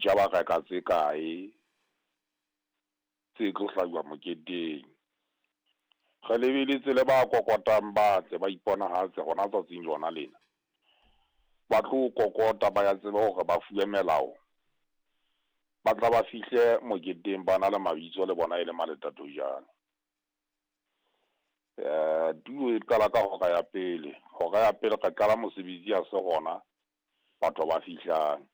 Di-butcher ba reka tse kae tse tlo hlajuwa moketeng. Re lebeletse le ba kokotang ba tle ba iponahatse hona tsatsing lona lena. Ba tlo kokota ba ya tsebe hore ba fuwe melao. Ba tla ba fihle moketeng ba na le mabitso le bona e le maletatojane. Tulo e qala ka hora ya pele. Hora ya pele re qala mosebetsi ha se hona batho ba fihlang.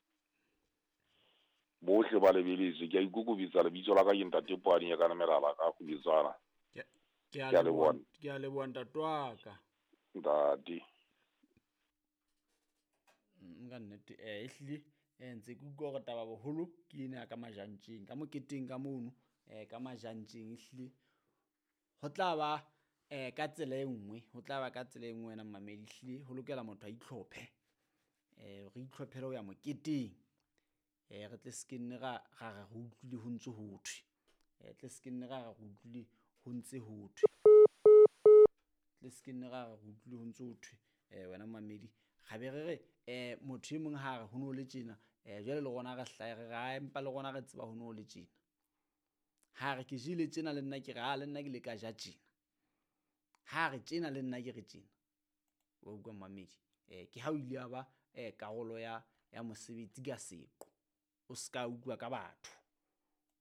Bohle ba lebeletswe. Ke a ikokobetsa lebitso la ka ke Ntate Poane ya kana melala ka Kgubetswana. Ke a leboha, ke a leboha ntate wa ka. Ntate. Ka nnete ehlile ntse ke utlwa hore taba boholo ke ena ya ka majantjeng, ka moketeng ka mono ka majantjeng ehlile ho tla ba ka tsela e nngwe, ho tla ba ka tsela e nngwe wena mmamedi ehlile ho lokela motho a itlhophe. Re itlhophele ho ya moketeng. Re tle se ke nne ra ra re re utlwile ho ntse ho thwe. Tle se ke nne ra re re utlwile ho ntse ho thwe. Tle se ke nne ra re re utlwile ho ntse ho thwe wena mmamedi. Ra be re re motho e mong ha re ho no le tjena jwale le rona re hlahe re re ae empa le rona re tseba ho no le tjena. Ha re ke jele tjena le nna ke re a le nna ke le ka ja tjena. Ha re tjena le nna ke re tjena. Wa utlwa mmamedi. Ke ha o ile ya ba karolo ya ya mosebetsi ka seqo. O ska utlwa ka batho.